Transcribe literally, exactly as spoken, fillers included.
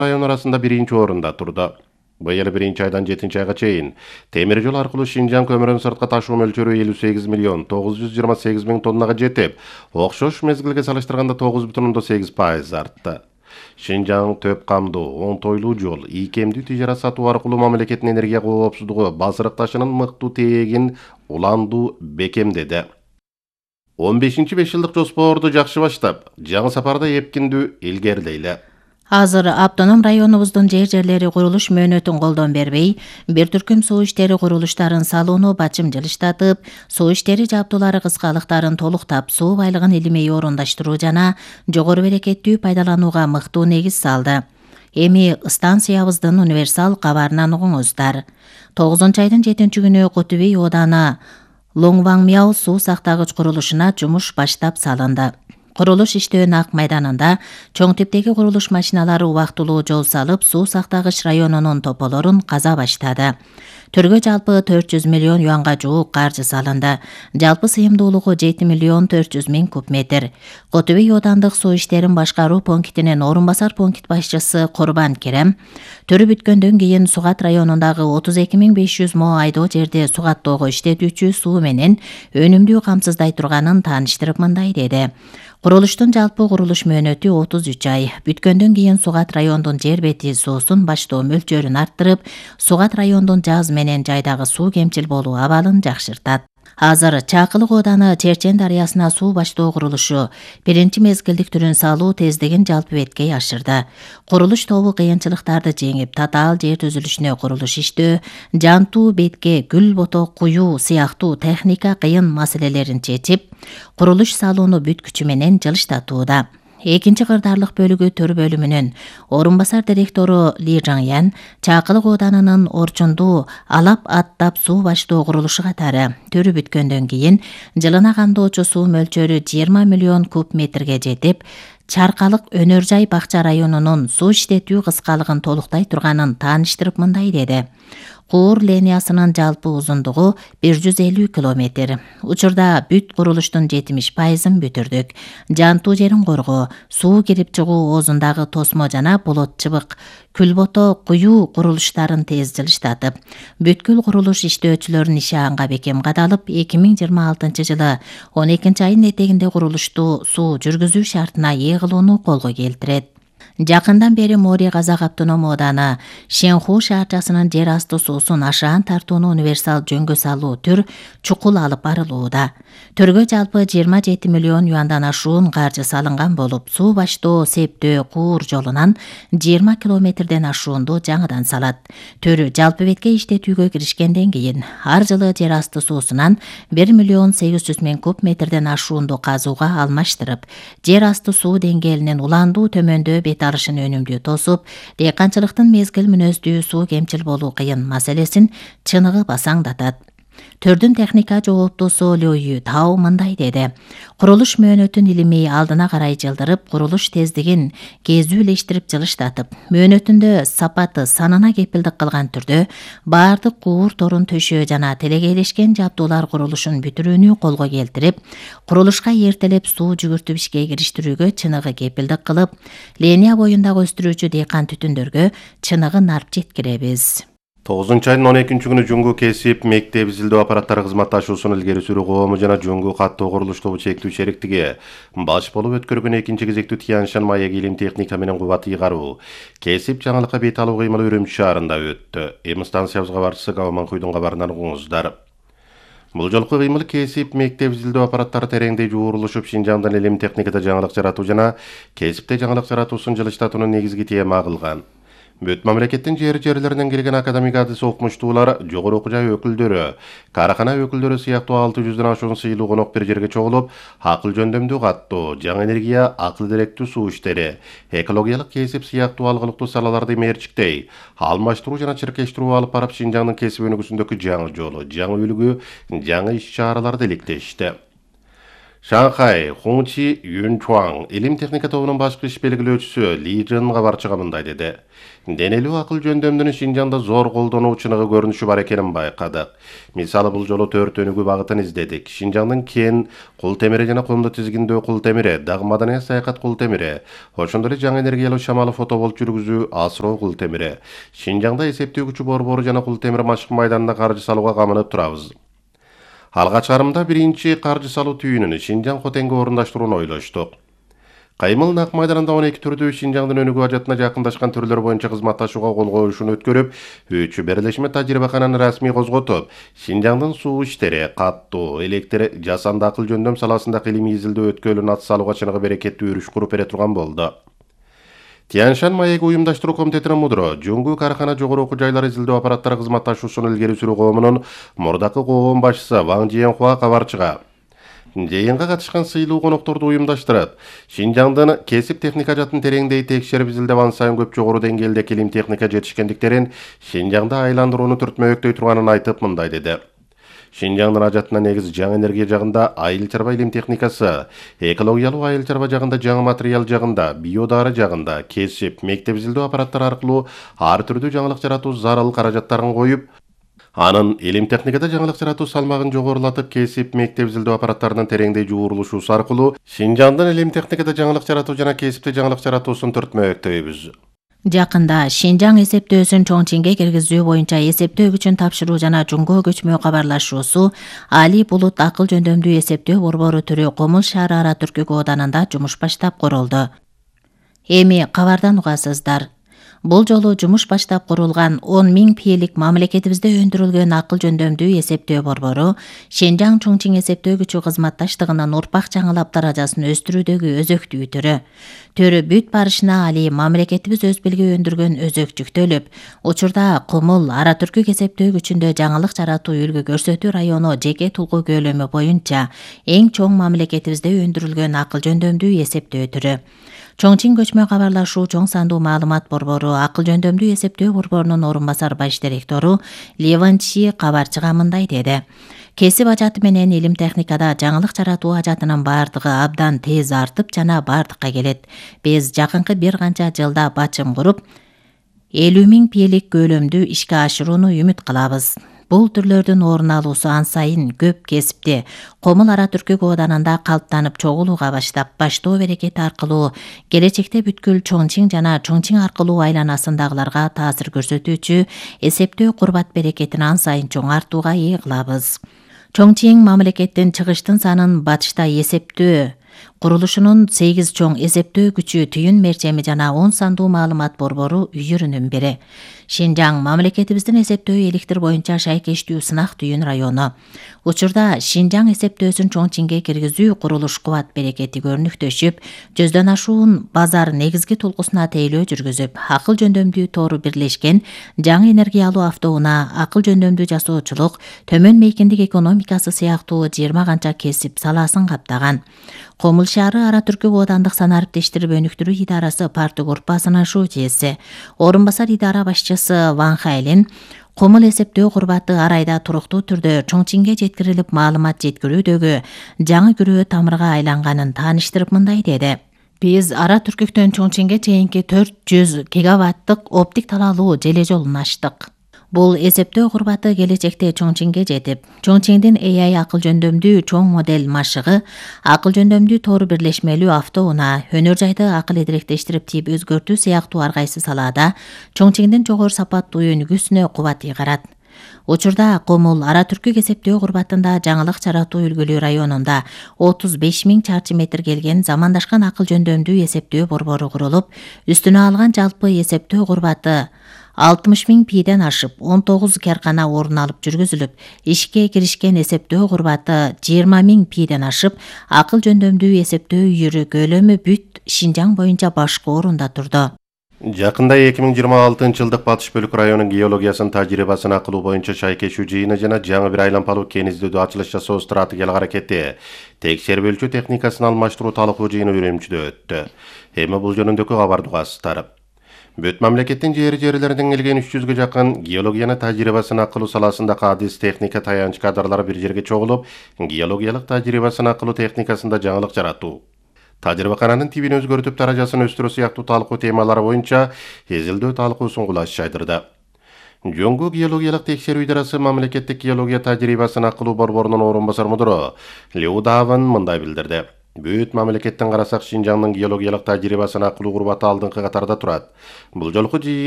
район арасында биринчи орунда турду. Быйыл биринчи айдан жетинчи айга чейин темир жол аркылуу Шинжаң көмүрүн сыртка ташуу мөлчөрү элүү сегиз миллион тогуз жүз жыйырма сегиз миң тоннага жетип, окшош мезгилге салыштырганда тогуз бүтүн ондон сегиз пайыз артты. Шинжаң төп камдуу, оңтойлуу жол, ийкемдүү тижара сатуу аркылуу мамлекеттин энергия коопсуздугу базырыкташынын мыктуу тегин уландуу бекемдеди. он бешинчи беш жылдык жоспорду жакшы баштап, жаңы сапарда эпкиндүү илгерилейли. Азыр автоном районубуздун жер-жерлери курулуш мөөнөтүн колдон бербей, бир түркүм суу иштери курулуштарын салууну бачым жылыштатып, суу иштери жабдуулары кыскалыктарын толуктап, суу байлыгын илимей орундаштыруу жана жогору берекеттүү пайдаланууга мыктуу негиз салды. Эми станциябыздын универсал кабарынан угуңуздар. тогузунчу айдын жетинчи күнү Кутубей ооданы Лоңваңмяу суу сактагыч курулушуна жумуш баштап салынды. Курулуш иштөөнүн ак майданында чоң типтеги курулуш машиналары убактылуу жол салып, суу сактагыч районунун тополорун каза баштады. Төргө жалпы төрт жүз миллион юанга жуук каржы салынды. Жалпы сыйымдуулугу жети миллион төрт жүз миң куб метр. Кутубей оодандык суу иштерин башкаруу пунктинин орун басар пункт башчысы Курбан Керем төрү бүткөндөн кийин Сугат районундагы отуз эки миң беш жүз мо айдоо жерде сугаттоого иштетүүчү суу менен өнүмдүү камсыздай турганын тааныштырып мындай деди. Курулуштун жалпы курулуш мөөнөтү отуз үч ай. Бүткөндөн кийин Сугат райондун жер бети суусун баштоо мөлчөрүн арттырып, Сугат райондун жаз менен жайдагы суу кемчил болуу абалын жакшыртат. Азыр Чакылык ооданы Черчен дарыясына суу баштоо курулушу биринчи мезгилдик түрүн салуу тездигин жалпы беткей ашырды. Курулуш тобу кыйынчылыктарды жеңип, татаал жер түзүлүшүнө курулуш иштөө, жантуу бетке гүл боток куюу сыяктуу техника кыйын маселелерин чечип, курулуш салууну бүт күчү менен жылыштатууда. Экинчи кырдаарлык бөлүгү төр бөлүмүнүн орун басар директору Ли Жаңян Чакылык ооданынын Орчунду алап аттап суу баштоо курулушу катары төрү бүткөндөн кийин жылына кандоочу суу мөлчөрү жыйырма миллион куб метрге жетип, Чаркалык Өнөр жай бакча районунун суу иштетүү кыскалыгын толуктай турганын тааныштырып мындай деди. Куур линиясынын жалпы узундугу бир жүз элүү километр. Учурда бүт курулуштун жетимиш пайызын бүтүрдүк. Жантуу жерин коргоо, суу кирип чыгуу оозундагы тосмо жана болот чыбык, күлбото куюу курулуштарын тез жылыштатып, бүткүл курулуш иштөөчүлөрүнүн иши анга бекем кадалып, эки миң жыйырма алтынчы жылы он экинчи айдын этегинде курулушту суу жүргүзүү шартына ээ кылууну колго келтирет. Жакындан бери Мори Казак автоном ооданы Шенху шаарчасынын жер асты суусун ашаан тартууну универсал жөнгө салуу түр чукул алып барылууда. Төргө жалпы жыйырма жети миллион юандан ашуун каржы салынган болуп, суу баштоо Септөө Куур жолунан жыйырма километрден ашуунду жаңыдан салат. Төр жалпы бетке иштетүүгө киришкенден кийин ар жылы жер асты суусунан бир миллион сегиз жүз миң куб метрден ашуунду казууга алмаштырып, жер асты суу деңгээлинин уландуу төмөндөө бет алышын өнүмдүү тосуп, дыйканчылыктын мезгил мүнөздүү суу кемчил болуу кыйын маселесин чыныгы басаңдатат. Төрдүн техника жооптусу Лю Тау мындай деди. Курулуш мөөнөтүн илимей алдына карай жылдырып, курулуш тездигин кезүүлештирип жылыштатып, мөөнөтүндө сапаты санына кепилдик кылган түрдө баардык куур торун төшөө жана телегейлешкен жабдуулар курулушун бүтүрүүнү колго келтирип, курулушка эртелеп суу жүгүртүп ишке кириштирүүгө чыныгы кепилдик кылып, линия боюндагы өстүрүүчү дыйкан түтүндөргө чыныгы нарп жеткиребиз. тогузунчу айдын он экинчи күнү Жуңгу кесип мектеп изилдөө аппараттары кызматташуусун илгери сүрүү коому жана Жуңгу каттоо курулуш тобу чектүү шериктиги баш болуп өткөргөн экинчи кезектүү Тяньшан маек илим техника менен кубат ыйгаруу кесип жаңылыкка бет алуу кыймылы Үрүмчү шаарында өттү. Эми станциябызга барчысы Кабаманкуйдун кабарынан угуңуздар. Бул жолку кыймыл кесип мектеп изилдөө аппараттары тереңдей жуурулушуп, Шинжаңдын илим техникада жаңылык жаратуу жана кесипте жаңылык жаратуусун жылыштатуунун негизги тема кылган. Бүт мамлекеттин жер-жерлеринен келген академик адис окумуштуулар, жогору окуу жай өкүлдөрү, карахана өкүлдөрү сыяктуу алты жүздөн ашуун сыйлуу конок бир жерге чогулуп, акыл жөндөмдүү каттоо, жаңы энергия, акыл деректүү суу иштери, экологиялык кесип сыяктуу алгылыктуу салаларды мерчиктей, алмаштыруу жана чиркештирүү алып барып, Шинжаңдын кесип өнүгүүсүндөгү жаңы жолу, жаңы үлгү, жаңы иш чараларды иликтешти. Шанхай Хунчи Юнчуан илим техника тобунун башкы иш белгилөөчүсү Ли Жын кабарчыга мындай деди. Денелүү акыл жөндөмдүнүн Шинжаңда зор колдонуучунугу көрүнүшү бар экенин байкадык. Мисалы бул жолу төрт өнүгүү багытын издедик. Шинжаңдын кен, кул темири жана комду тизгиндөө кул темири, дагы маданий саякат кул темири, ошондой эле жаңы энергиялуу шамалы фотоболт жүргүзүү асыроо кул темири. Шинжаңда эсептөө күчү борбору жана кул темир машык майданына каржы салууга камынып турабыз. Алгач карымда биринчи каржы салуу түйүнүн Шинжаң Хотенге орундаштырууну ойлоштук. Каймыл нак майданында он эки түрдүү Шинжаңдын өнүгүү ажатына жакындашкан түрлөр боюнча кызматташууга кол коюшун өткөрүп, үчү берлешме тажрыйбакананы расмий козготуп, Шинжаңдын суу иштери, каттуу, электр жасанды акыл жөндөм саласында илимий изилдөө өткөлүн ат салууга чыныгы берекеттүү үрүш куруп бере турган болду. Тяньшань маеги уюмдаштыруу комитетинин мудро Жуңгу карахана жогору окуу жайлар изилдөө аппараттары кызматташуусун илгери сүрүү коомунун мурдакы коом башчысы Ван Жиенхуа кабарчыга жыйынга катышкан сыйлуу конокторду уюмдаштырып, Шинжаңдын кесип техника жатын тереңдей текшерип изилдеп ан сайын көп жогору деңгээлде илим техника жетишкендиктерин Шинжаңда айландырууну түртмөктөй турганын айтып мындай деди. Шинжаңдын ажатына негиз жаңы энергия жагында айыл чарба илим техникасы, экологиялуу айыл чарба жагында жаңы материал жагында, биодары жагында кесип, мектеп изилдөө аппараттары аркылуу ар түрдүү жаңылык жаратуу зарыл каражаттарын коюп, анын илим техникада жаңылык жаратуу салмагын жогорулатып, кесип, мектеп изилдөө аппараттарынын тереңдей жуурулушуусу аркылуу Шинжаңдын илим техникада жаңылык жаратуу жана кесипте жаңылык жаратуусун түртмөктөйбүз. Жакында Шинжаң эсептөөсүн Чоңчиңге киргизүү боюнча эсептөө күчүн тапшыруу жана жумго көчмө кабарлашуусу Али Булут акыл жөндөмдүү эсептөө борбору түрү Комул шаары Ара Түркү кооданында жумуш баштап курулду. Эми кабардан угасыздар. Бул жолу жумуш баштап курулган он миң пиелик мамлекетибизде өндүрүлгөн акыл жөндөмдүү эсептөө борбору Шинжаң Чоңчиң эсептөө күчү кызматташтыгынын урпак жаңылап даражасын өстүрүүдөгү өзөктүү түрү. Төрү бүт барышына али мамлекетибиз өз белги өндүргөн өзөк жүктөлүп, учурда Комул Ара Түркү эсептөө күчүндө жаңылык жаратуу үлгү көрсөтүү району жеке тулгу көлөмү боюнча эң чоң мамлекетибизде өндүрүлгөн акыл жөндөмдүү эсептөө түрү. Чоңчиң көчмө кабарлашуу чоң сандуу маалымат борбору акыл жөндөмдүү эсептөө борборунун орун басар баш директору Леван Чи кабарчыга мындай деди. Кесип ажаты менен илим техникада жаңылык жаратуу ажатынын бардыгы абдан тез артып жана бардыкка келет. Биз жакынкы бир канча жылда бачым куруп, элүү миң пиелик көлөмдү ишке ашырууну үмүт кылабыз. Бул түрлөрдүн орун алуусу ан сайын көп кесипте Комул Ара Түркү кооданында калыптанып чогулууга баштап, баштоо берекети аркылуу келечекте бүткүл Чоңчиң жана Чоңчиң аркылуу айланасындагыларга таасир көрсөтүүчү эсептөө курбат берекетин ан сайын чоң артууга ээ кылабыз. Чоңчиң мамлекеттин чыгыштын санын батышта эсептөө курулушунун сегиз чоң эсептөө күчү түйүн мерчеми жана он сандуу маалымат борбору үйүрүнүн бири. Шинжаң мамлекетибиздин эсептөө электр боюнча шайкештүү сынак түйүн району. Учурда Шинжаң эсептөөсүн Чоңчиңге киргизүү курулуш кубат берекети көрүнүктөшүп, жүздөн ашуун базар негизги тулгусуна тейлөө жүргүзүп, акыл жөндөмдүү тору бирлешкен жаңы энергиялуу автоунаа, акыл жөндөмдүү жасоочулук, төмөн мейкиндик экономикасы сыяктуу жыйырма канча кесип саласын каптаган. Комул шаары Ара Түркү коодандык санарип тештирип өнүктүрүү идарасы парты группасынын шуучеси, орун басар идара башчысы Ван Хайлин Комул эсептөө курбаты ар айда туруктуу түрдө Чоңчиңге жеткирилип маалымат жеткирүүдөгү жаңы күрөө тамырга айланганын тааныштырып мындай деди. Биз Ара Түркүктөн Чоңчиңге чейинки төрт жүз гигаваттык оптик талаалуу желе жолун ачтык. Бул эсептөө курбаты келечекте Чоңчиңге жетип, Чоңчиңдин A I акыл жөндөмдүү чоң модель машыгы, акыл жөндөмдүү тору бирлешмелүү автоунаа, өнөр жайды акыл эдиректештирип тип өзгөртүү сыяктуу ар кайсы салаада Чоңчиңдин жогору сапаттуу өнүгүүсүнө кубат ыйгарат. Учурда Комул Ара Түркү эсептөө курбатында жаңылык жаратуу үлгүлүү районунда отуз беш миң чарчы метр келген замандашкан акыл жөндөмдүү эсептөө борбору курулуп, үстүнө алган жалпы эсептөө курбаты алтымыш миң пийден ашып, он тогуз каркана орун алып жүргүзүлүп, ишке киришкен эсептөө курбаты жыйырма миң пийден ашып, акыл жөндөмдүү эсептөө үйүрү көлөмү бүт Шинжаң боюнча башкы орунда турду. Жакында эки миң жыйырма алтынчы жылдык Батыш бөлүк районунун геологиясын тажрыйбасын акылуу боюнча шайкешүү жыйыны жана жаңы бир айланпалуу кен издөөдө ачылыш жасоо стратегиялык аракети, текшерип өлчөө техникасын алмаштыруу талкуу жыйыны Үрүмчүдө өттү. Эми бул жөнүндөгү кабарды угасыздар. Бүт мамлекеттин жери-жерлеринен келген үч жүзгө жакын геологияны тажрыйбасын акылуу саласындагы адис техника таянч кадрлар бир жерге чогулуп, геологиялык тажрыйбасын акылуу техникасында жаңылык жаратуу, тажрыйбакананын тибин өзгөртүп даражасын өстүрүү сыяктуу талкуу темалары боюнча изилдөө талкуусун кулаш жайдырды. Жоңгу геологиялык текшерүү идарасы мамлекеттик геология тажрыйбасын акылуу борборунун орун басар мудуру Лю Даван мындай билдирди. Бүт мамлекеттен карасак Шинжаңдын геологиялык тажрыйбасын акылуу курбаты алдыңкы катарда турат. Бул жолку жыйын